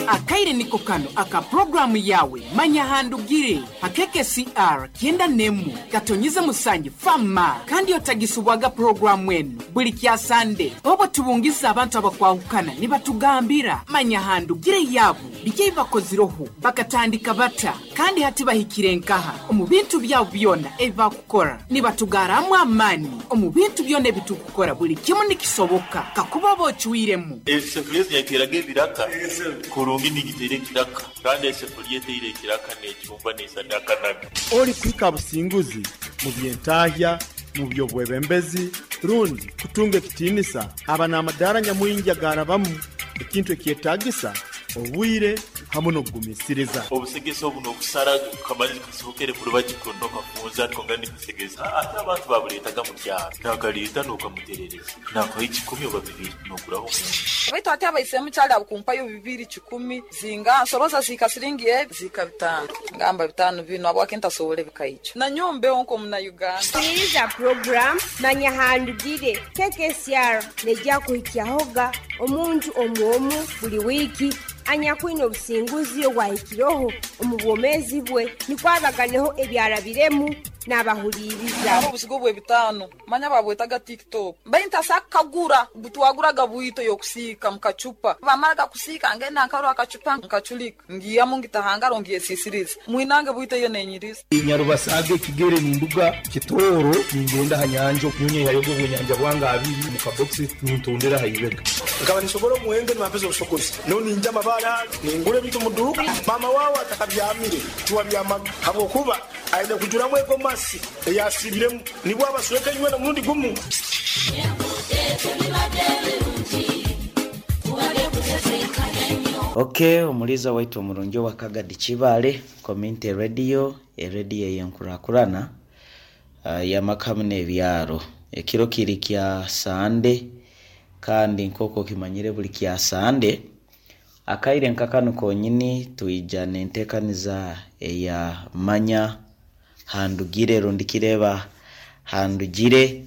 Akaire niko kano aka puroguraamu yaawe Manya Ahandugire ha KKCR kyenda n'emwe katonyize musanju Fama kandi otagisubwaga puroguraamu enu buli kya Sande obwo tubungiza abantu abakwahukana nibatugambira Manya Ahandugire yaabo biki ebi bakozireho, bakatandika bata kandi hati bahikire nkaha omu bintu byabo byona ebi bakukora. Nibatugarramu amaani omu bintu byona ebi turikukora buli kimu nikisoboka kakuba oba ocwiremu. Esefuriya ezi yateeraga ebiraka kurungi nigiteera ekiraka, kandi esefuriya eteire ekiraka neecumba neisana akanaga. Orikuhika aha businguzi mu by'entahya, mu by'obwebembezi, rundi kutunga ekitiinisa aba n'amadaara nyamwingi agaarabamu, ekintu ekyetaagisa obwire hamu n'okugumiisiriza. Obusegesa obu n'okusara kamani kasohokere kurubaju kunu nokafunza konka nikasegesa ate abantu babuleetaga mu kyaro nakaleeta nokamuterereza nakuha ekikumi oba bibiri noguraho omunju. Baitu hati abaisemu kyali abukumpayo bibiri kikumi zinga nsoroza zihika siringi ebi zihika bitano ngamba bitano binu habwaki ntasobora ebikaikyo nanyowe mbeho nk'omuna Uganda. Huliriza puroguramu Manya Ahandugire KKCR neija kuhikyahoga omuntu omu omu buli wiiki anyakwine obusinguzi obwahikireho omu bwomeezi bwe nukwo abaganeho ebyarabiremu n'abahuliiriza. Haro obuzigo bw'ebitaano manya babwetaga Tik Tok. Mbaire ntasobola kukagura, butwaguraga bwito y'okusiika mu kacupa. Bamaraga kusiika ngenda nkarora akacupa nkaculika, ngiihamu ngita ha ngaro ngyesiisiriza. Mwinange bwito eyo nenyiriza. Nyarubasaga ekigere ninduga Kitooro ningenda aha nyanja nyowe nyihayo obwenyanja bwange abiri omu kabokisi nintondera aha ibega. Nkaba ninshobora omuhendo nibampeza obushogozi. Nyowe ningya amabaare aga, ningura ebintu omu duuka. Maama waawe atakabyamire, tiwabyamaga habw'okuba aine kujuramu ego masi ei asiibiremu nibwo abasweka inywena omurundi gumu. Ok omuliiza waitu omurungi owa Kagadi Kibaale Community Radio, erediyo ey'enkurakurana y'amaka hamu n'ebyaro. Ekiro kiri kya Sande kandi nk'oku okimanyire buli kya Sande, akaire nka kanu konyini twija n'entekaniza eya Manya Handugire rundi Kireeba Handugire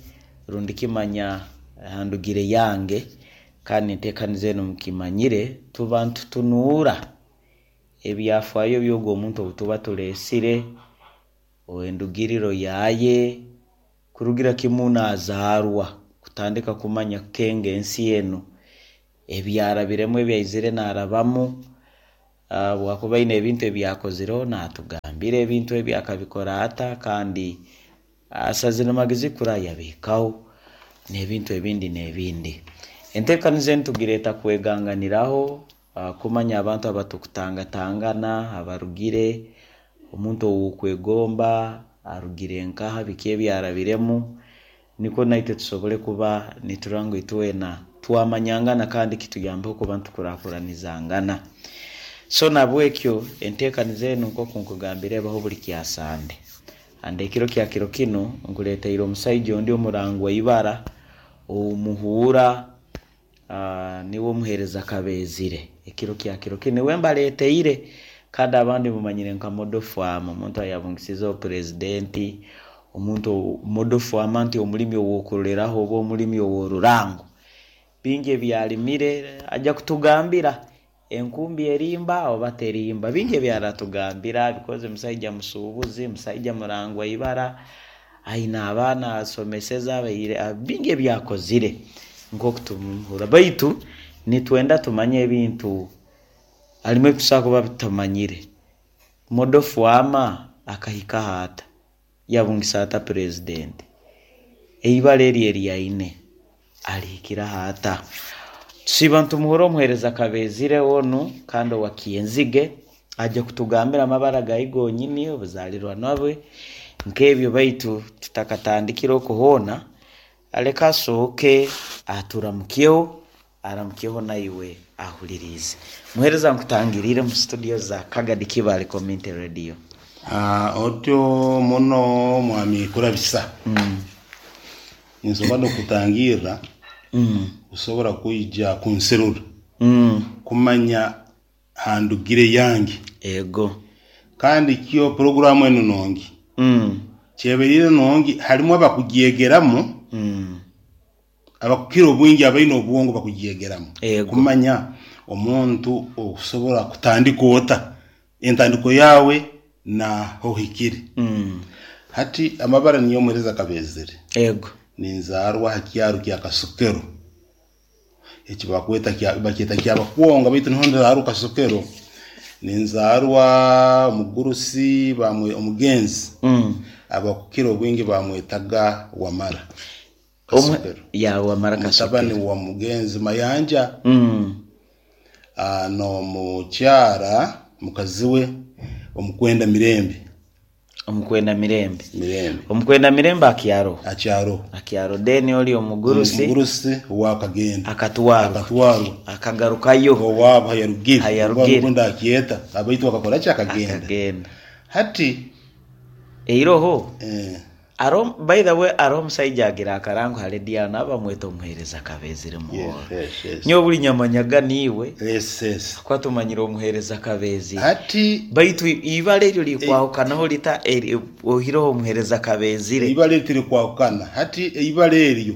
rundi Kimanya Handugire Yange kandi entekaniza enu mukimanyire tuba nitutunuura Ebyafaayo by'ogwo omuntu ou tuba tuleesire, endugiriro yaaye, kurugira kimu naazaarwa kutandika kumanya kukenga ensi enu, ebi arabiremu, ebi aizire naarabamu, obu akuba aine ebintu ebi akozireho naatugambira ebintu ebi akabikora ata kandi Asazire magezi kura yabihikaho n'ebintu ebindi n'ebindi. Enteekaniza enu tugireeta kweganganiraho, kumanya abantu abatukutangatangana, abarugire, omuntu ou okwegomba arugire nkaha, biki ebi arabiremu, nikwo naitwe tusobole kuba niturora ngu itwena twamanyangana kandi kituyambeho kuba nitukurakuranizangana. So nahabwekyo enteekaniza enu nk'oku nkugambire ebaho buli kya Sande. And ekiro kya kiro kinu nkuleteire omusaija ondi omurangwa ibara ou muhuura niwe omuheereza Kabeezire. Ekiro kya kiro kinu niwe mbaleteire kandi abandi mumanyire nka Model Farmer, omuntu ayabungisizeho Purezidenti, omuntu Model Farmer nti omulimi ow'okuroreraho oba omulimi ow'orurango. Bingi ebi alimire aja kutugambira. Enkumbi erimba oba terimba? Bingi ebi aratugambira because musaija musuubuzi, musaija murangwa ibara, aine abaana asomeseze abaire, bingi ebi akozire nk'oku tumuhurra. Baitu nitwenda tumanye ebintu harimu ebi tusobora kuba tutamanyire. Model Fwama akahikaho ata? Yabungisa ata Purezidenti? Eibara eryo eri aine alihikiraho ata? Tusiiba nitumuhurra omuheereza Kabeezire onu kandi owa Kyenzige aje kutugambira amabara gaye gonyini, obuzaalirwana bwe, nk'ebyo baitu tutakatandikire okwo hoona, leka asooke aturamukyeho, aramukyeho naiwe ahuliriize. Muheereza nkutangiriire mu studio za Kagadi Kibaale Community Radio. Otyo muno Mwami Kurabisa. Ninsobola n'okutangirra kusobora kwija kunserura kumanya ha ndugire yange. Ego. Kandi kyo puroguramu enu nungi. Kyebaire nungi harimu abakugyegeramu, abakukira obwingi abaine obwongo bakugyegeramu Ego. kumanya. Omuntu okusobora kutandika ota entandiko yaawe na hohikire. Hati amabara niyo omuhereza Kabezere. Ego. Ninzaarwa aha kyaro kya Kasokero eki bakweta kya bakyeta Kyabakwonga baitu niho nzaarwa Kasokero. Ninzaarwa omugurusi bamwe omugenzi abakukira obwingi bamwetaga Wamara Omwe Kasokero. ya Wamara Mutabani Kasokero. wa mugenzi Mayanja n'omukyara mukazi we omukwenda Mirembe. Omukwenda Mirembe. Mirembe. Omukwenda Mirembe akyaroho. Akyaroho. Akyaroho. Then ori omugurusi. Omugurusi owe akagenda. Akatwarwa. Akatwarwa. Akagarukayo. Owaabo hayarugire. Hayarugire. Obu ndakyeta abaitu akakora ki? Akagenda. Akagenda. Hati. Eiroho. Eh. Aroho by the way aroho omusaija agira akarango ha radio aho naba bamweta omuhereza Kabezire Muhoro. Yes, yes. Nyowe buri nyamanyaga niiwe. Yes, yes. Kuba tumanyire omuhereza Kabezire. Hati Baitu ibara eryo rikwahukanaho rita eri oihireho omuhereza Kabezire? Eibara eryo tirikwahukana. Hati eibara eryo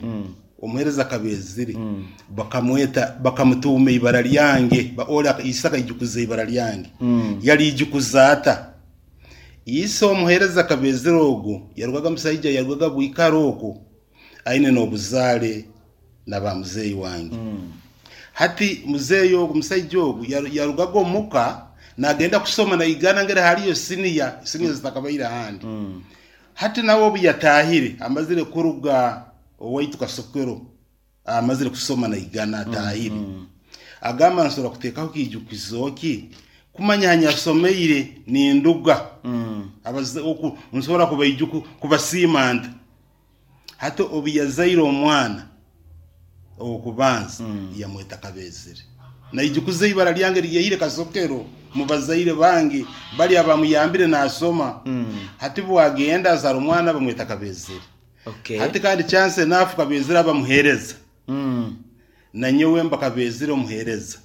omuhereza Kabezire bakamweta bakamutuuma eibara ryange. Ori ise akaijukuza eibara ryange. Yariijukuza ata? Ise omuheereza Kabezire ogu yarugaga musaija yarugaga Bwikara oku aine n'obuzaare na ba muzeeyi wange. Hati muzeeyi ogu musaija ogu yarugaga omuka nagenda kusoma naigana ngeri haliyo siniya, siniya zitakabaire ahandi. Hati nawe obu yataahire amazire kuruga owaitu Kasokero Amazire kusoma naigana ataahire. Agamba nsobora kuteekaho kiijukizo ki kumanya ha nyasomeire ninduga abaze oku nsobora kubaijuku kubasiima nta. Hati obu yazaire omwana ow'okubanza yamweta Kabezere. Naijukuza ibara lyange eryaihire Kasokero mu bazaire bange bali abamuyambire nasoma. Hati bwagenda azaara omwana bamweta Kabezere. Okay. Hati kandi chance enough Kabezire aba muhereza. Nanyowe mba Kabezire omuhereza.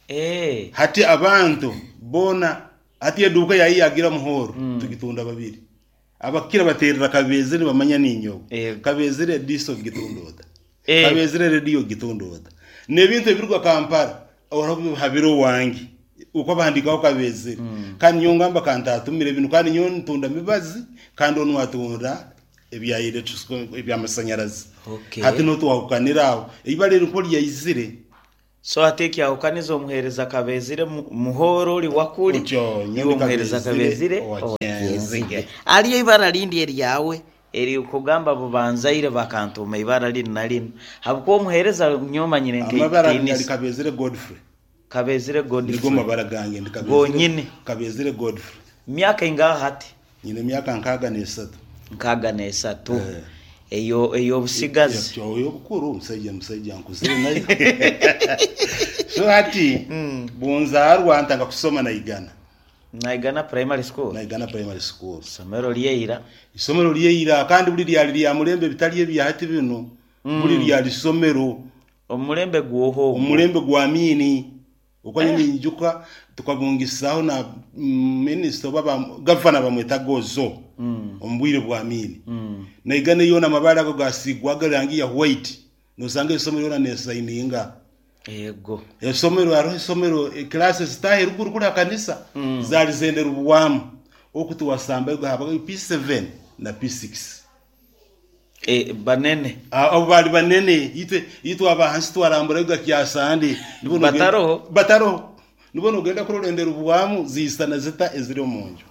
Eh. Hati abantu bona hati eduuka yayi yagira muhoro tugitunda babiri. Abakira baterera Kabezire nibamanya ninyowe. Yego. Kabezire diso gitunda ota. Eh. Kabezire radio gitunda ota. N'ebintu ebiruga Kampala oraho habiro owange. Uko bahandikaho Kabezire. Kandi nyowe ngamba kantatumire binu kandi nyowe ntunda mibazi kandi onu atunda ebya electric ebyamasanyarazi. Okay. Hati niho twahukanira aho. Eibara eri nko ryaizire. So hati ekyahukaniza omuhereza Kabezire Muhoro ori wakuri Otyo, iwe omuhereza Kabezire owa Kyenzige. Hariyo eibara rindi eryawe eri kugamba bubanzaire bakantuuma eibara rinu na rinu habwokuba omuhereza nyowe manyire Amabara nk'ekitiinisa. gari Kabezire Godfrey. Kabezire Godfrey. Nigo mabara gange ndi Kabezire. Gonyine. Kabezire Godfrey. Myaka ingaha hati? Nyine emyaka 63. 63. Eyo ey'obusigazi. Ey'obukuru omusaija musaija nkuzire nayo. So hati bunzaarwa ntandika kusoma Naigana. Naigana primary school? Naigana primary school. Isomero ryeira. Isomero ryeira kandi buri ryari rya murembe bitari ebya hati binu. Buri ryari isomero. Omulembe gwoha ogwo? Omulembe gwa Amiini. Okwo nyowe ninyijuka tukabungisaho na minisita oba ba gavana bamwetaga Ozo omu bwire bwa Amiini. Naigana yoona amabaare ago gasiigwaga erangi ya white nosanga eisomero yoona nesayininga. Ego. Eisomero hariho eisomero classes zitaaha eruguru kuri aha kanisa zaari zenderubwamu oku tiwasambayo habaga P7 na P6. Eh, banene. Abo baali banene. Itwe itwe aba hansi twaramburayo kyasande. Bataroho? Bataroho. Nibwo nogenda kurora enderubwamu ziisana zita eziri omu nju.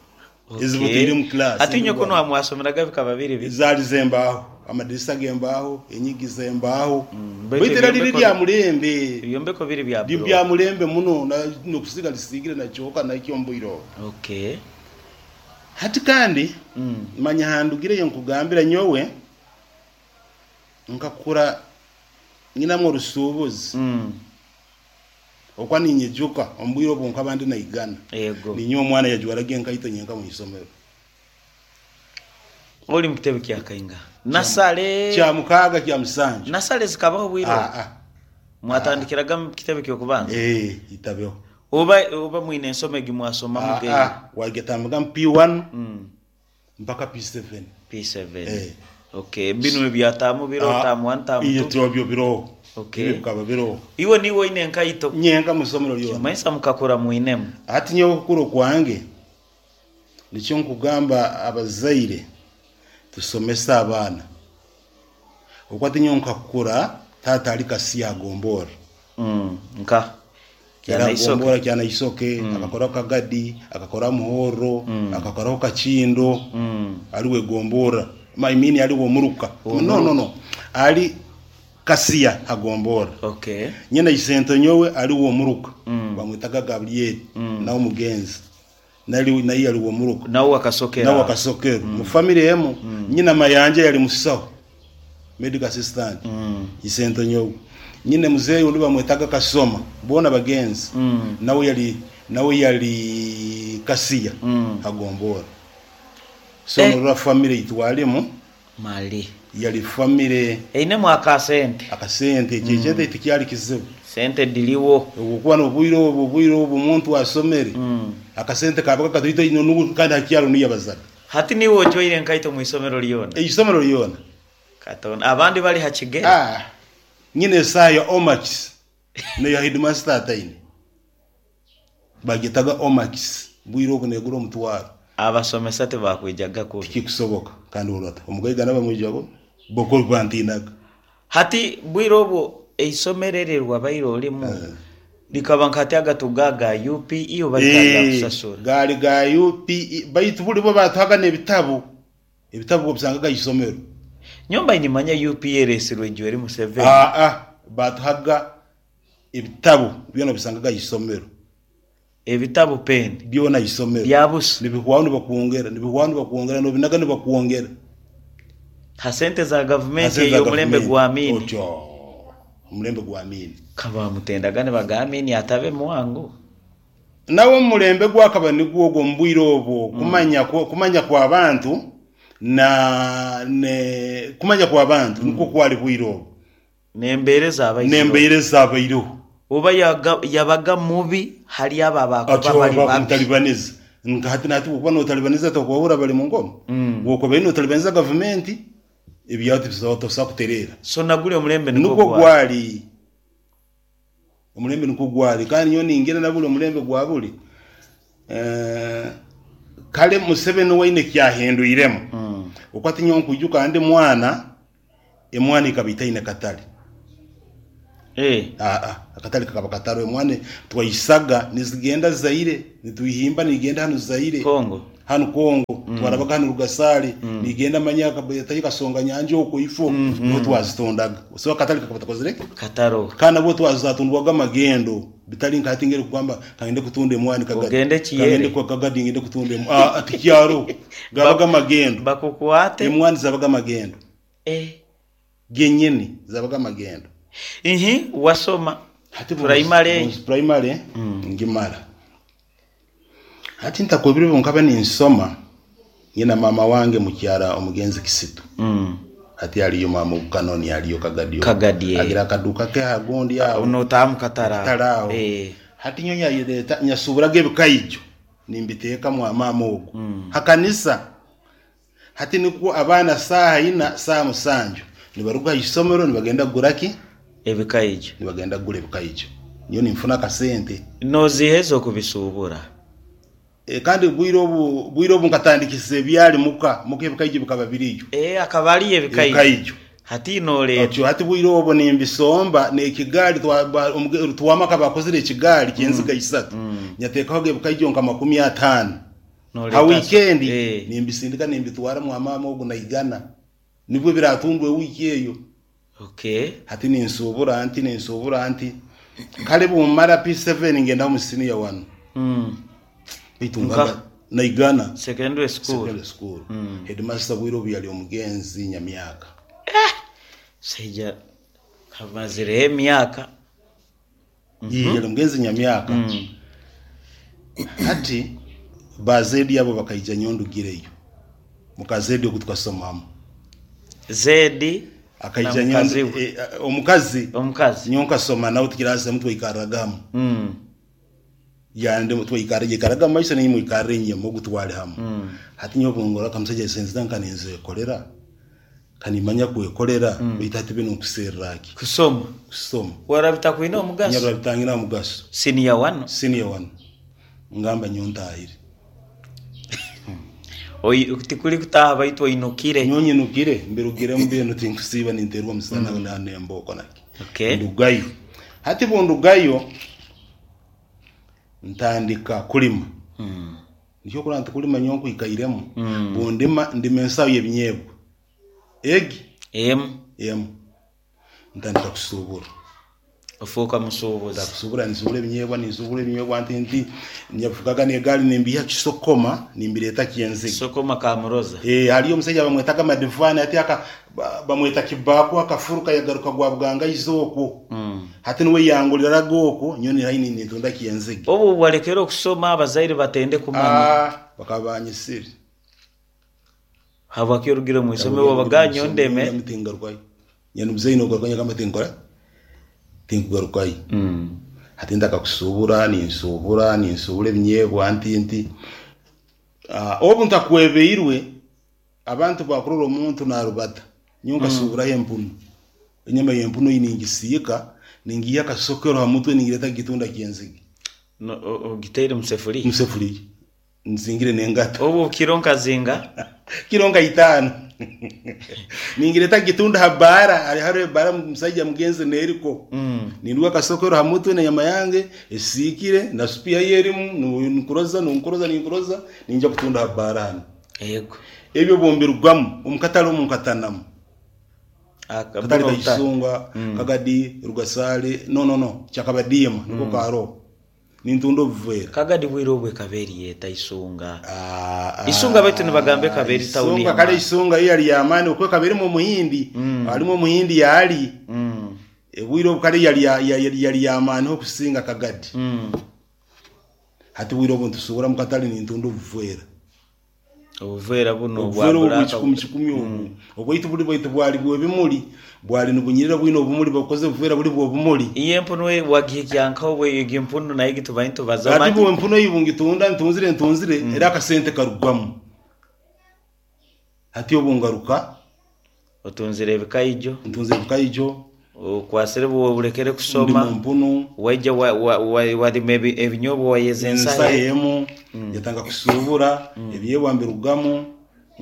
Okay. Eziboteire omu class. Hati inywe kunu aha mwasomeraga bikaba biri bita? Zaali z'embaaho. Amadirisa g'embaaho, enyigi z'embaaho. Baitu Baitu era riri ebyombeko rya murembe. Ebyombeko biri bya Biri buroka. bya murembe muno n'okusiiga risiigire na kyoka nakyo omu bwire obwo. Okay. Hati kandi manya handugireyo nkugambira nyowe nkakura nyinamu orusuubuzi okwa ninyijuka omu bwire obu nkaba ndi naigana. Yego. Ninyowe omwana yajwaraga enkaito nyenka omu isomero. Ori mu kitebe kya kaingaha? Nasale. Kya mukaaga kya musanju. Nasale zikabaho obwire obu? Ah, ah. Mwatandikiraga mu kitebe ky'okubanza? Eh, itabeho. Oba oba mwine ensomo egi mwasomamu Ah, ge? ah, wagetambiga mu P1 mpaka P7. P7. Eh. Okay, binu ebyataamu biro Ah, taamu 1 taamu iyo 2. tibyo biroho. Okay. Ebyo bikaba biroho. Iwe niiwe oine enkaito? Nyenka mu isomero ryona. Kimanyisa mukakura mwinemu. Hati nyowe okukura okwange, nikyo nkugamba abazaire tusomese abaana. Oku hati nyowe nkakura taata ari Kasiya agomborra. Nka? Kyanagombora Kyanaisoke, akakoraho Kagadi, akakoraho Muhorro, akakoraho Kakindo, ari we gomborra. I mean ari we omuruka. No, no, no. Ari Kasiya agomborra. Okay. Nyina isento nyowe ari we omuruka. Bamwetaga Gabriel, nawe omugenzi. Nari naye yari omuruka. Nawe akasokera. Nawe akasokera. Mu family emu, nyina Mayanja yari musaho. Medical assistant. Isento nyowe. Nyine muzeeyi ondi bamwetaga Kasoma. Boona bagenzi. Nawe yari nawe yari Kasiya agombora. So Eh. norora family eitwarimu Mali. yari family Einemu akasente. Akasente ekyo ekyente tikyari kizibu. Sente dhiriwo. Obwokuba nobwire obu obwire obu omuntu asomere akasente kabaga katoito inho nubu kandi hakyaro niyo yabazaga. Hati niiwe ojwaire enkaito mu isomero lyona? Eisomero lyona. Katonda, abandi bali ha kigere? Ah, nyine esaaha ya Omax neya headmaster ataine. Bagyetaga Omax, bwire obu negura omutwaro. Abasomesa tibakwijaga kubi. Tikikusoboka kandi orora ota omugaiga nabamwija kubi bo ku bantinaga. Hati bwire obwo eisomero eryo erwabaire orimu rikaba nka hati agatuga aga UPE oba rikaba rya kusasura? Gaali ga UPE baitu buri bo batuhaga n'ebitabu, ebitabu obisangaga aha isomero. Nyowe mbaire nimanya UPE eresirwe Yoweri Museveni. Aa, batuhaga ebitabu byona obisangaga aha isomero. Ebitabu peni. Byona aha isomero. Bya busa. Nibihwaho nibakwongera, nibihwaho nibakwongera, nobinaga nibakwongera. Ha sente za Ha gavumenti sente za ey'omulembe gavumenti. gwa Amini. Otyo, omulembe gwa Amini. Ka baamutendaga nibaga Amini atabe mwangu. Nawe omu mulembe gwakaba nigwo ogwo omu bwire obwo, kumanya kumanya kw'abantu na ne kumanya kw'abantu nikwo kwari bwire obwo. N'embeera ezabaireho. N'embeera ezabaireho. Oba yabaga mubi hali abo abakuba Atyo bali babi. bakumutalibaneza. Nka hati nahati bwokuba notalibaniza tokuhurra bali mu ngoma. Bwokuba notalibaniza gavumenti ebyawe tosobola kutereera. So na guri omulembe nikwo Nukwo gwali. gwali. Omulembe nikwo gwali. Kandi nyowe ningira na buri omulembe gwa buri. Kare Museveni we aine eki yahindwiremu. Oku hati nyowe nkwijuka ndi mwana, Emwani ekaba etaine katare. Aa, akatare kakaba katariho. Emwani twaisaga nizigenda Zaire, nitwihimba nigenda hanu Zaire. Congo. Hanu Congo, twarabaga hanu Rugasare, nigenda manya tayo Kasonga Nyanja okwo ifo, niho twazitondaga. So akatare kakaba takozire ki? Kataroho. Kandi nabwo twazatundwaga amagendo, bitari nka hati ngeri kugamba kangende kutunda emwani Kagadi. Ogende Kiyere. Kangende kwa Kagadi ngende kutunda emwani. Aa, tikyariho. Gabaga amagendo. Bakukwate. Emwani zabaga amagendo. Genyini zabaga amagendo. Ihi wasoma Hati primary. Primary ngimara. Hati ntakwebire obu nkaba ninsoma nyina mama wange mukyara omugenzi Kisitu. Hati aliyo mama Obukanoni aliyo Kagadi. Kagadi. Agira akaduka ke ahagundi aho. Notaha mu katare aho. Katare aho. Hati nyowe nyayereta nyasuburaga ebikaijo nimbiteeka mwa mama ogu. Hakanisa. Hati nikwo abaana saaha ina, saaha musanju nibaruga aha isomero nibagenda kugura ki? Ebikaijo. Nibagenda kugura ebikaijo. Nyowe ninfuna akasente. Noziiha ez'okubisuubura? Kandi bwire obu, bwire obu nkatandikisa ebyari muka, muka ebikaijo bikaba biriyo. Akaba ariyo ebikaijo. Ebikaijo. Hati nooreeta. Otyo hati bwire obwo nimbisomba n'ekigaari Rutwama akaba akozire ekigaari ky'enziga isatu. Nyateekaho ebikaijo nka 50. Ha wiikendi nimbisindika nimbitwara mwa maama ogu naigana. Nibwo biratundwe wiiki eyo. Hati ninsuubura nti, ninsuubura nti. Kare bumara P7 ngenda omu siniya wanu. Baitu ngamba naigana. Secondary school. Secondary school. Headmaster bwire obu yali omugenzi Nyamyaka. Saija kamazireho emyaka. Yali omugenzi Nyamyaka. Hati ba Zedi abo bakaija nyowe ndugireyo. Muka Zedi ogu tukasomamu. Zedi akaija na nyowe mukazi we. omukazi. Omukazi. Nyowe nkasoma nawe tukiraasi hamwe twaikarraga hamu. Yande twaikarra yaikaraga omu maiso nainye mwikarra enyima ogu twali hamu. Hati nyowe obu ngorora akamusaija sente zange nka ninzekorera. Kanimanya kwekorera baitu hati binu nkuserra ki? Kusoma. Kusoma. Warora bitakwine omugaso? Nyarora bitangina omugaso. Senior one. Senior one. Ngamba nyowe ntahire. Oi tikuri kutaaha baitu oinukire. Nyowe nyinukire mbirugiremu binu tinkusiiba ninteerwa omusana na n'embooko naki. Okay. Ndugayo. Hati bundugayo ntandika kulima. Nikyo okurora nti kulima nyowe nkwikairemu, bundima ndima ensaho y'ebinyeebwa egi Emu. emu ntandika kusuubura. Ofuuka musuubuzi. Ntandika ninsuubura ebinyeebwa ninsuubura ebinyeebwa nti nti nyavugaga n'egaari nimbiiha Kisokoma nimbireeta Kyenzige. Kisokoma Kamuroza. Ee, hariyo omusaija bamwetaga Madivani hati aka bamweta Kibaku akafuruka yagaruka gwa Bugangaizi okwo. Hati nuwe yanguliraga okwo nyowe ni haihi nintunda Kyenzige. Obu walekere okusoma abazaire batende kumanya. Aah, bakaba banyisire. Habwaki orugire omu isomero wabaga nyowe ndeme. Nyowe tingarukayo. Nyowe muzeeyi nogaruka nyagamba tinkora tinkugarukayo. Hati ntaka kusuubura ninsuubura ninsuubura ebinyeebwa nti nti. Obu ntakwebeirwe abantu bakurora omuntu narubata nyowe nkasuuburaho empunu. Enyama y'empunu ei ningisiika ningiiha akasokero ha mutwe ningireeta kugitunda Kyenzige. Ogiteire omu sefuriya? Omu sefuriya. Nzingire n'engata. Obu kiro nkazinga? Kiro nka itaano. Ningireta kugitunda ha baara, hari hariho ebaara omusaija mugenzi n'eriko. Ninduga akasokero ha mutwe n'enyama yange esiikire na supu yayo erimu, ninkuroza ninkuroza ninkuroza ninja kutunda ha baara hanu. Yego. Ebyo obu mbirugamu, omu katare omu nkatanamu. Akatare ka Isunga, Kagadi, Rugasaale, no no no, Kyakabadiima niko karoho. Nintunda obuveera. Kagadi bwire obu ekaba eri eta Isunga? Isunga baitu nibagamba ekaba eri tawuni Isunga kare Isunga yo yari y'amaani okwo ekaba erimu omuhindi, harimu omuhindi yaali. Obwire obu kare yari yari y'amaani ho kusinga Kagadi. Hati obwire obu nitusuubura omu katare nintunda obuveera. Obuveera bunu obwa Obuveera obu black. bw'ekikumi kikumi obu. Obwaitu buri bwaitu bwali bw'ebimuri, bwali nibunyirira bwine obumuri babukoze obuveera buri bw'obumuri. Iyo empunu wagihikya nkaha obu egi empunu nayo egi tubaire nitubaza Hati omanye. bu empunu ei bungitunda ntunzire ntunzire era akasente karugwamu. Hati obu ngaruka. Otunzire ebikaijo. Ntunzire ebikaijo. Okwasire oburekere Ndi kusoma. mu mpunu. Waija warima ebinyobwa wayeza ensaho. Ensaho emu yatandika kusuubura, ebinyeebwa mbirugamu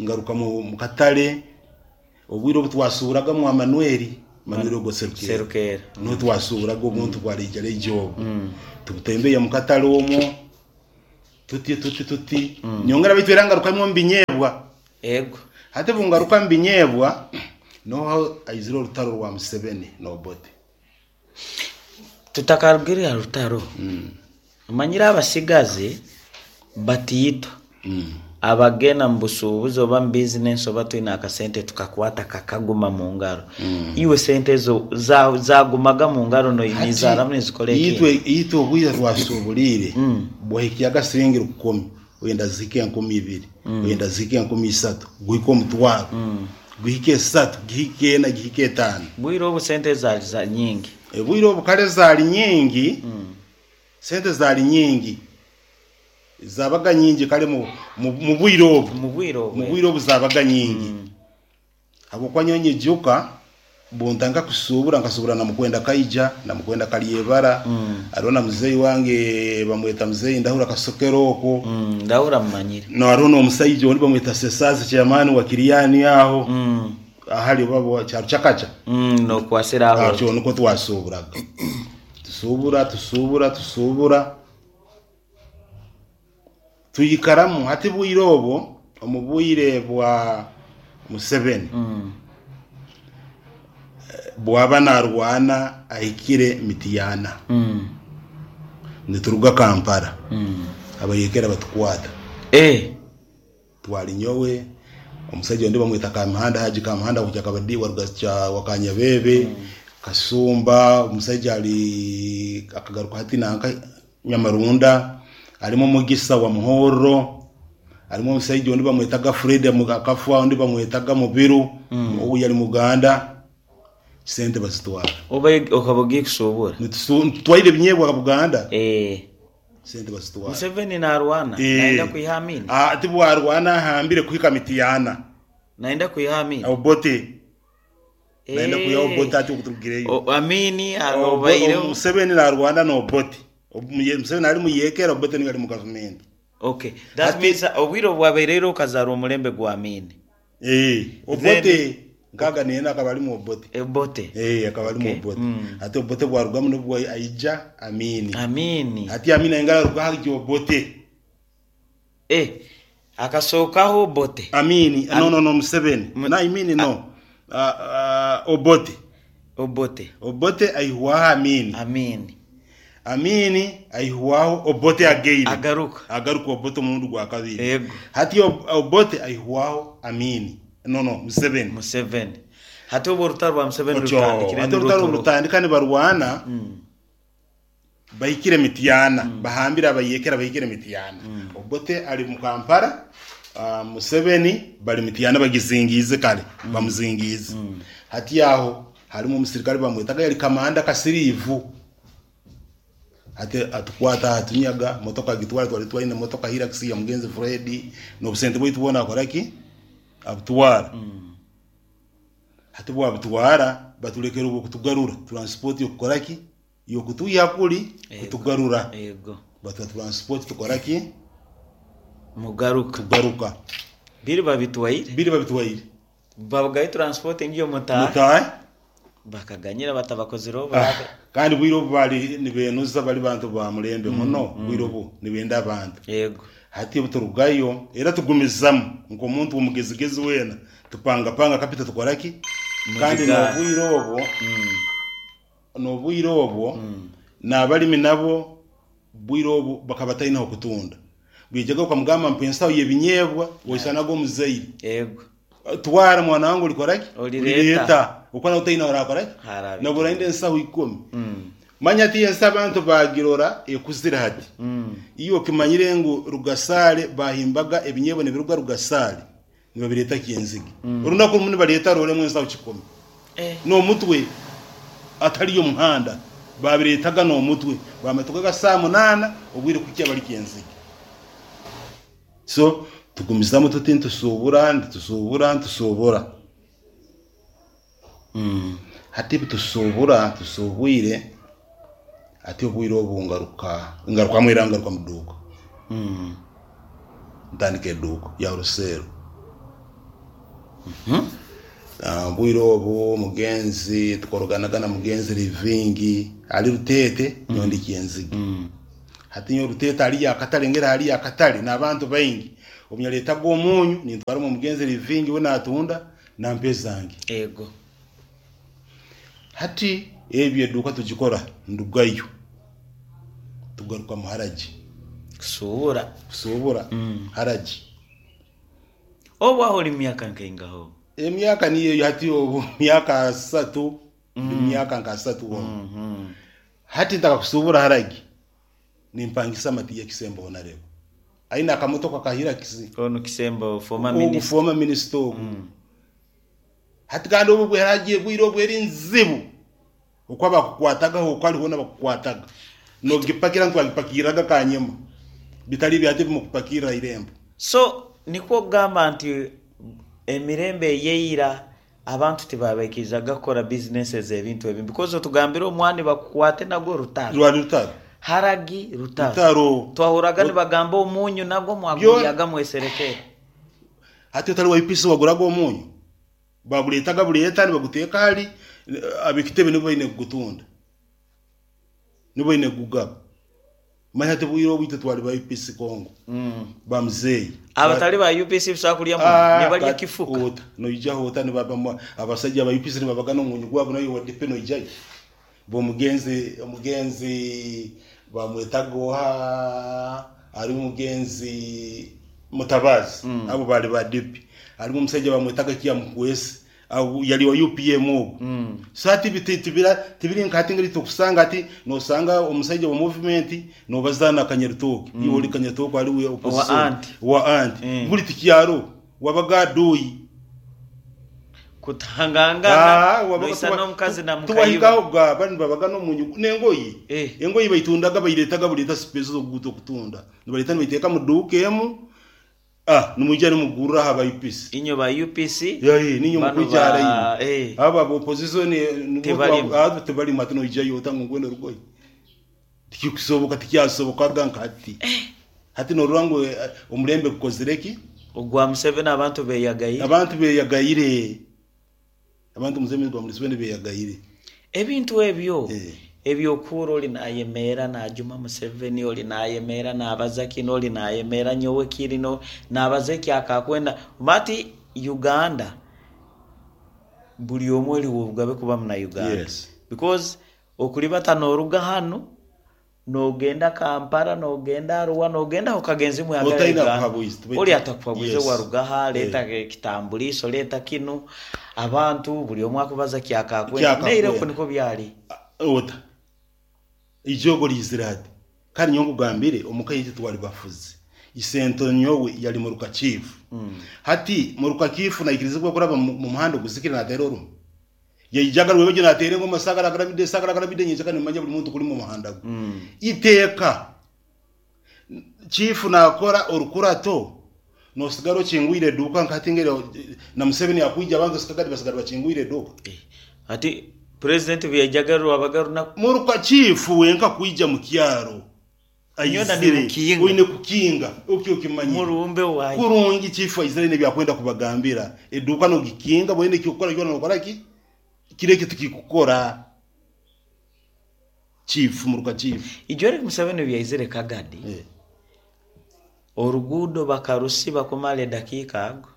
ngaruka mu katare. Obwire obu twasuuburaga mwa Manuel, Manuel ogwo Serukeera. Serukeera. Niho twasuuburaga obuntu bwa rejareja obwo. Tubutembeya mu katare omwo tuti tuti tuti. Nyongera baitu era ngarukamu omu binyeebwa. Ego. Hati bungaruka mu binyeebwa, noho aizire orutaro rwa Museveni na Obote. Tutakarugire aha rutaro, omanyire abasigazi batiitwa abagenda mu busuubuzi oba mu bizinensi oba twine akasente tukakwata kakaguma mu ngaro. Iwe sente ezo zagumaga mu ngaro nizaaramu nizikora Itwe ekindi? itwe obwire twasuuburiire bwahikyaga siringi rukumi, oyenda zihike 2000, oyenda zihike 3000, guhike omutwaro, guhike esatu, gihike ena, gihike etaano. Bwire obu sente zaali za nyingi. Obwire obu kare zaali nyingi, sente zaali nyingi, zabaga nyingi kare mu mu bwire obu. Mu bwire obu. Mu bwire obu zabaga nyingi. Habwokuba nyowe nyijuka buntandika kusuubura nkasuubura na Mukwenda Kaija na Mukwenda Karyebara, hariho na muzeeyi wange bamweta muzeeyi Ndahura Kasokero okwo. Ndahura mumanyire. No hariho n'omusaija ondi bamweta Sesaazi chairman wa Kiriani aho. Ahari oba Kyarukyakakya. Nokwasira aho. Atyo nikwo twasuuburaga. Tusuubura tusuubura tusuubura twikaramu hati bwire obwo omu bwire bwa Museveni bwaba narwana ahikire Mityana nituruga Kampala abayekera batukwata. Twali nyowe, omusaija ondi bamweta Kamuhanda Haji Kamuhanda kuja Kabadi waruga wa Kanyabebe, Kasumba, omusaija ali akagaruka hati nanka Nyamarunda, harimu Mugisa wa Muhorro, harimu omusaija ondi bamwetaga Fred akafa, ondi bamwetaga Mubiru, ogu yali Muganda, sente bazitwara. Oba okaba ogiye kusuubura? Nitutwaire ebinyeebwa Buganda. Sente bazitwara. Museveni narwana nayenda kwiha Amin. Tibwarwana ahambire kuhika Mityana. Nayenda kwiha Amin. Obote. Nayenda kwihaho Obote ati okuturugireyo. O- Amini Obo- obaireho. Museveni narwana na Obote. Ob- Museveni ari muyekera Obote niwe ari mu gavumenti. Okay. That Hati- means obwire obwabaireyo okazaarwa omulembe gwa Amini. Eh, Then Obote nkaga nena akaba ari mu Obote. Obote. Eh, akaba ari mu Okay. Obote. Hati Obote bwarugamu nibwo aija Amini. Amini. Hati Amini ainga aruga hajya Obote. Eh, akasookaho Obote. Amini, Am- no no no Museveni. Mu- Na Amini no. Obote. Obote. Obote aihwaho Amini. Amini. Amini aihwaho Obote again. Agaruka. Agaruka Obote omurundi gwa kabiri. Yego. Hati Obote aihwaho Amini. No no Museveni. Museveni. Hati obwo orutaro rwa Museveni Otyo, rutandikire hati orutaro niruturuka. rutandika nibarwana bahikire Mityana bahambire abayekera bahikire Mityana. Obote ari mu Kampala, Museveni bari Mityana bagizingiize kare bamuzingiize. Hati aho harimu omusirikare bamwetaga yari kamanda kasiriivu. Hati atukwata atunyaga motoka agitwara twari twaine motoka Hilux ya mugenzi Fred n'obusente bwaitu bwona akoraki abutwara. Hati bwabutwara batulekera obwo kutugarura transport yokukoraki yokutuiha kuri Yego. kutugarura Yego. batuha transport tukoraki Mugaruka. tugaruka Biri babitwaire. biri babitwaire Babagayo transport ngiyo mutahe. mutahe Bakaganyira batabakozireho Ah, barabe. kandi bwire obu bari nibenuza bari bantu ba mulembe muno bwire obu nibenda abantu Yego. hati obu turugayo era tugumizamu nk'omuntu omugezigezi weena tupangapanga kapita tukoraki kandi Mugigara. n'obwire obwo n'obwire obwo n'abalimi nabo bwire obu bakaba bataine kutunda bwijaga ukamugamba mpa ensaho y'ebinyeebwa oisanaga omuzaire Yego. twara mwana wange olikoraki Olireeta. okwana utaine orakoraki Harabi. nabwo orainde ensaho 10 manya ati ensi abantu bagirora ekuzire hati iyo okimanyire ngu rugasale bahimbaga ebinyeebwa nibiruga rugasale nibabireeta kyenzige orunaku rumu nibareeta roremu ensaho 10 Eh. n'omutwe atariyo muhanda babireetaga n'omutwe bamatukaga saa 8 obwire kukya bari kyenzige so tugumizamu tuti nitusuubura nitusuubura nitusuubura hati tusuubura tusuubwire ati obwire obu ngaruka ngarukamu era ngaruka mu duuka ntandika eduuka ya ruseero Obwire obu mugenzi tukoroganaga na mugenzi Livingi ali Ruteete nyowe ndi Kyenzige. Hati nyowe Ruteete hariyo akatare ngera hariyo akatare n'abantu baingi obu nyaleetaga omunyu nintwaramu omugenzi Livingi we natunda nampa ezange. Yego. Hati ebyo eduuka tugikora ndugayo tugaruka mu haragi Kusuubura. kusuubura haragi. Obu aho ori mu myaka nkaingaho? Emyaka niyo eyo hati obu myaka asatu ndi myaka nka asatu omu. Hati ntaka kusuubura haragi nimpangisa Matiya Kisembo Honorable. Aine akamotoka ka Hilux. Onu Kisembo former Ogu minister. former minister ogu. Hati kandi obu bweragiye bwire obu eri nzibu. Okwo abakukwatagaho okwo hariho n'abakukwataga. Nogipakira ntwagipakiraga kanyema. Bitari byate bimukupakira irembo. So nikwo kugamba nti emirembe eyeira abantu tibabaikirizaga kukora businesses ebintu ebi because otugambire omwani bakukwate nagwo rutaro. Rwari rutaro. Haragi rutaro. Rutaro. Twahuraga nibagamba omunyu nagwo mwaguryaga mweserekere. Hati otari wa UPC waguraga omunyu. Baguleetaga buleeta nibaguteeka hali ab'ekitebe nibo baine kugutunda. Nibo baine kugugaba. Manya hati bwire obu itwe twali ba UPC Congo. Ba muzeeyi. Abatali ba UPC busobola kulya munyu nibalya kifuka. Ota noijaho ota nibaba abasajja ba UPC nibabaga n'omunyu gwabo nayo wa DP noijayo. Bo omugenzi bamwetaga oha ari omugenzi Mutabazi abo bali ba DP. Harimu omusajja bamwetaga Kiamukwesi abo yali wa UPM ogu. So hati tibiri nka hati ngeri tukusanga ati nosanga omusajja wa movement nobazaana Kanyarutoke. Iwe ori Kanyarutoke ari we opposition. Wa anti. Wa anti. Buri tikyaro wabaga aduyi. Kutangangana noisa n'omukazi na mukayiba. Tuwahikaho ga bani babaga n'omunyu n'engoyi. Engoyi baitundaga bairetaga buleta space z'okuguta okutunda. Nibaleta nibaiteeka mu duuka emu. Ah, nimwija nimugurra aha ba UPC. Inywe ba UPC, Yaye, ninye banu mukwija ba hara imwe. eh. Abo aba opposition nibo Tebarimu. abo tebarimu hati noijayo ota ngu nkwenda orugoye. Tikikusoboka tikyasobokaga nka hati. Hati norora ngu omulembe gukozire ki? Ogwa Museveni abantu beyagaire. Abantu beyagaire. Abantu Museveni gwa Museveni beyagaire. Ebintu ebyo ebyokuura oli nayemeera najuma Museveni, oli nayemeera nabaza kinu, oli nayemeera nyowe kiri, nabaza eki akakwenda. Mati Uganda buli omwe oliwo obugabe kuba muna Uganda. Yes. Because okulibata noruga hanu nogenda Kampala, nogenda Arua, nogenda okagenzi mwagala Otaina Uganda. kuhabuizi. Oli atakuhabuize Yes. warugaha, leta kitambulisho, leta kinu. Abantu buli omwe akubaza kyakakwenda. Kyakakwenda. Neire oku niko byali. Ota. Ijogo lizira hati. Kandi nyowe nkugambire omuka yaitu twali bafuzi. Isento nyowe yali muruka chief. Hati muruka chief naikirizibwa kuraba mu muhanda oguzikire nateera orumu. Yaijaga rwebejo nateera engoma sagara garabide sagara garabide nyenjaka nimanya buli muntu kuli mu muhanda gwe. Iteeka chief nakora orukurato nosigara okingwire eduuka nkati ngere na Museveni akwija abantu sikagadi basigara bakingwire eduuka. Ati president byajaga rwabaga runaku Muruka chief wenka kwija mu kyaro. Nyona Aizire, ni mukinga. Oine kukinga okyo okimanyire. Murumbe wayi. Kurungi chief aizire nebyakwenda kubagambira. Eduuka nogikinga bwene kyokora kyona nokora ki? Kireke tukikukora. Chief muruka chief. Ijo Eric Museveni byaizire Kagadi. Oruguudo bakarusiba kumara edakiika ago.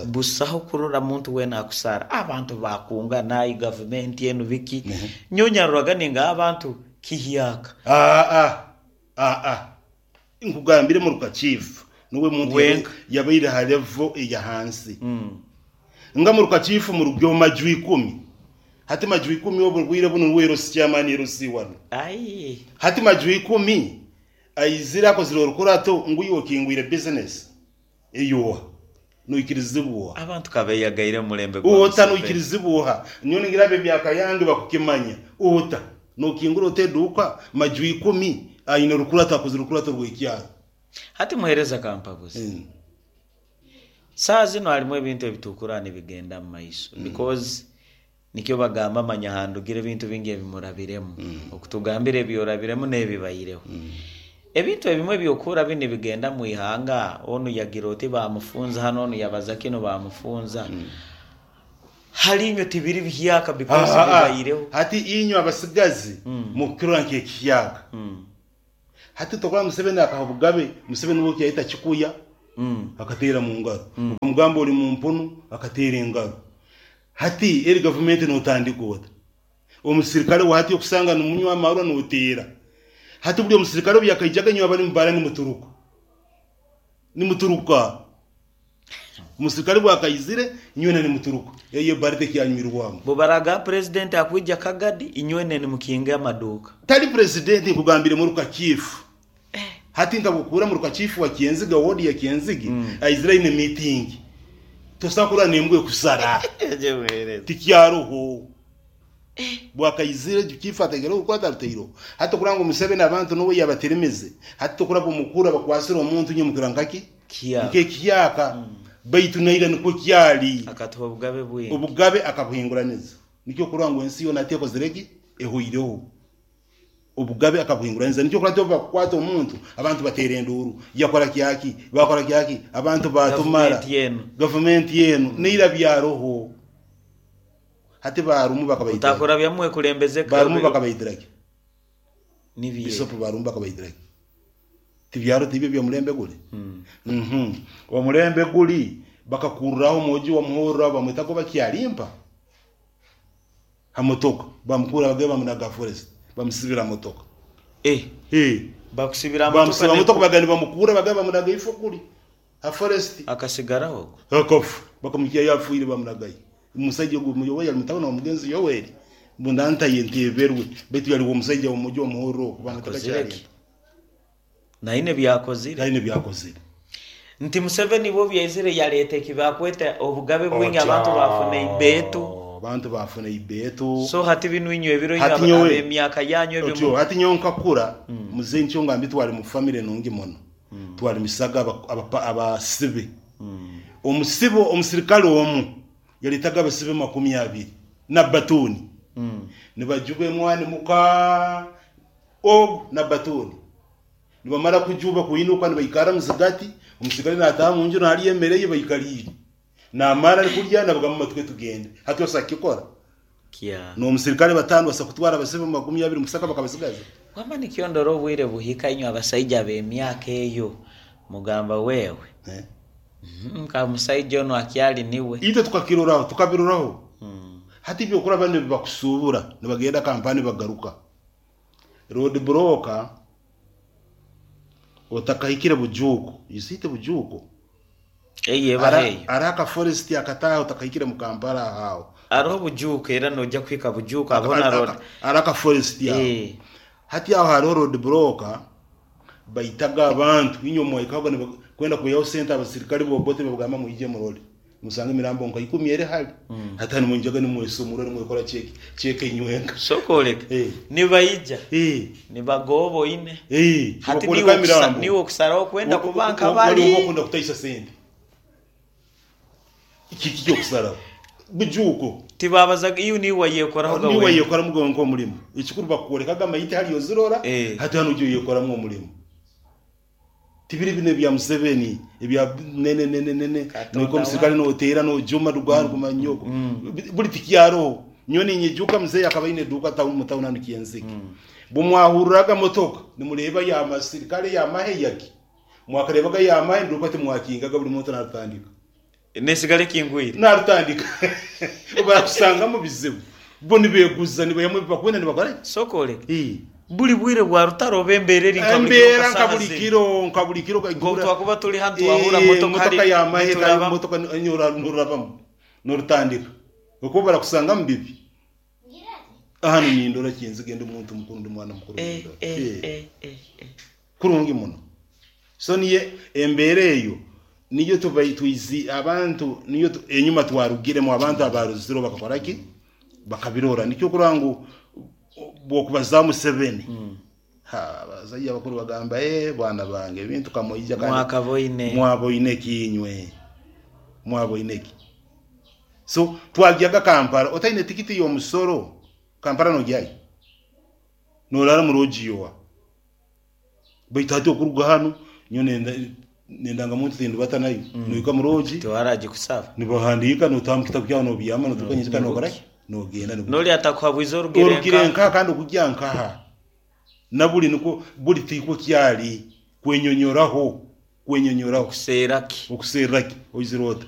Busaho kurora muntu wena akusara. Abantu bakunga nayi gavumenti enu biki. Nyonya ruraga ninga abantu kihyaka. Nkugambire muruka chief nuwe muntu Wenka. yabaire ha level eya hansi. Nga muruka chief murugyo majwi 10. Hati majwi 10 obwo buno rwero si chairman ero si wano. Ai. Hati majwi 10 aizira akozire orukurato nguyo okingwire business. Eyowa. Noikirizibwa. Abantu kabeyagaire mulembe gwa Ota Museveni. noikirizibwa. Niyo ningira emyaka yange bakukimanya. Ota nokingura oteduka majwi 10 aine orukurato akozire orukurato rw'ekyaro. Hati muhereza kampabuzi. Saa zino harimu ebintu ebitukura nibigenda mu maiso. Because nikyo bagamba manya handugire ebintu bingi ebimurabiremu. Okutugambira ebyorabiremu n'ebibaireho. Ebintu ebimwe byokura bini bigenda mu ihanga, onu yagira oti bamufunza hano, onu yabaza kino bamufunza. Hari inywe tibiri bihyaka because bibaireho. Hati inywe abasigazi mukirora nk'ekiyaka. Hati tokora Museveni akaha obugabe, Museveni we kyayita kikuya akateera mu ngaro. Okamugamba ori mu mpunu akateera engaro. Hati eri gavumenti notandika ota. Omusirikare wa hati okusanga numunywa amarwa noteera. Hati buli omusirikare obu yakaijaga inywe abari mubara nimuturuka. Nimuturuka. Omusirikare bwakaizire inywe nimuturuka. Eyo bare tekyanyumirwamu. Bubaraga president akwija Kagadi inywe nimukinga amaduka. Tali president nkugambire muruka chief. Hati nkabukura muruka chief wa Kienziga ward ya Kienzigi aizira ine meeting. Tosakura nembwe kusara. Tikyaroho. Bwakaizire chief ategera ukwata rutero. Hati kuranga Museveni abantu nowe yabateremeze. Hati tokuraba omukura bakwasira omuntu nye mukirankaki. Kiyaka. Nke kiyaka. Baitu naira niko kyali. Akatuha obugabe bwingi. Obugabe akabuhinguraniza. Nikyo kurangwa ensi yona atekozereki ehoireho. Obugabe akabuhinguraniza nikyo kurate bakwata omuntu abantu batera enduru yakora kyaki bakora kyaki abantu batumara Gavumenti yenu. Gavumenti yenu neira byaroho. Hati barumu bakabayitira. Utakora byamwe kulembeze Barumu bakabayitiraki. Nibiye. Bisopo barumu bakabayitiraki. Tibyaro tibyo bya mulembe guli. Omulembe guli bakakurraho moji wa muhorra bamwetako bakyalimpa. Hamotoka bamukura bageba bamunaga forest bamusibira motoka. Bakusibira motoka. Bamusibira motoka bagani bamukura bageba bamunaga ifo kuli. Ha forest akasigaraho. Akafu bakamukiya yafuire bamunagaye. Umusajja ogwo muyoboye ali mutabani wa mugenzi Yoweri. Mbunda nteberwe betu yali omusajja omujo omuhoro kubanga Akozire ki? Naine byakozire. Naine byakozire. Nti Museveni bo byaizire yaleta ekibakweta obugabe bwingi abantu bafuna ibetu. Abantu bafuna ibetu. So hati binu inywe ebiro Hati inywe nyowe- ab'emyaka yanyu ebyo Otyo, hati nyowe nkakura muzeyi nkyo nga mbitwale mu family nungi muno. Twarimisaga abasibe. Omusibe, omusirikare omu yaretaga abasibe 20 na batuuni. Nibajuba emwani muka ogu na batuuni. Nibamara kujuba kuinuka nibaikara muzigati, omusirikare nataha munju narya emere ye baikariire. Namara arikurya nabagamba matwe tugende. Hati osa kukikora? Kya. N'omusirikare batano basa kutwara abasibe 20 musaka bakabasigaza. Wama nikyo ndora obwire buhika inywe abasaija b'emyaka eyo mugamba wewe. Nka musaija onu akyali niwe. Itwe tukakiroraho, tukabiroraho. Hati ebyokuraba nibibakusubura nibagenda Kampala nibagaruka. Road broker otakahikire Bujuuko, you see it Bujuuko? Eyo eba Ara eyo. ara aka forest akataaha otakahikire mu Kampala aho aho. Hariho Bujuuko era noija kuhika Bujuuko hariho na road. Ara aka forest aho. Hati aho hariho road broker baitaga abantu inywe mwaikahoga nibakwenda kwihaho sente abasirikare bobote babagamba mwije murole. Musanga emirambo nka ikumi eri hali. Hati hanu mwijaga nimwesomura nimwekora cheke cheke inywenka. Sokoleka. Nibaija. Nibagoba oine. Hati Nibakwoleka emirambo. niwe okusaraho kwenda kuba nka Wali bali. oba okunda kutaisa sente. Kiki kyokusaraho? Bujuuko. Tibabazaga iyo niwe wayekoraho Niwe wenka. wayekoramu gonka omurimo. Ekikuru bakukwolekaga amaiti hali ozirora, hati hanu ojya oyekoramu omurimo. Tibiri bino ebya Museveni, ebya nene nene nene, nuko omusirikare noteera nojuma rugwa ruguma nyoko. Buri tikyaroho. Nyowe ninyijuka muzeeyi akaba aine eduuka mu tawuni hanu Kyenzike. Bumwahururaga motoka, nimureeba ya masirikare ya mahe yagi. Mwakareebaga ya mahe nduuka timwakingaga buri muntu narutandika. Nesigale kingwire. Narutandika. Barakusanga mu bizibu. Bo nibeguza nibayamu bakwenda nibakora. Sokole. Buri bwire bwa rutaro oba embeera eri nka buri kiro Embeera nka kasaaha buri zinu. kiro nka buri kiro Nko twakuba turi hanu twahura motoka motoka hari ya mahe nituraba. motoka nurabamu norutandika. Okuba barakusanga mu bibi. Hano nindora Kyenzige ndi omuntu mukuru ndi mwana mukuru nindora. Kurungi muno. So niye embeera eyo niyo tubai twizi abantu niyo enyuma twarugiremu abantu abaruziro bakakora ki? Bakabirora. Nikyo kurora ngu bwokubaza Museveni. Ha, abasajja abakuru bagamba bwana bange ebintu kamoija kandi Mwakaboine. Mwaboine kinywe. Mwaboine ki. So twagyaga Kampala otaine tikiti y'omusoro Kampala nojyayo. Norara mu rojiyowa. Baitu hati okuruga hanu nyo nenda muntu tindubata nayo. Noika mu roji. Tiwaragikusaba. Nibahandika notamu kitabu kyawe nobyama notuka nyika nokora ki? Nogenda no. Noli atakuhabwiza orugire Orugire nka kandi okujya nkaha. Na buli niko buli tiko kyali kwenyonyoraho kwenyonyoraho okuseeraki okuseeraki oizirota.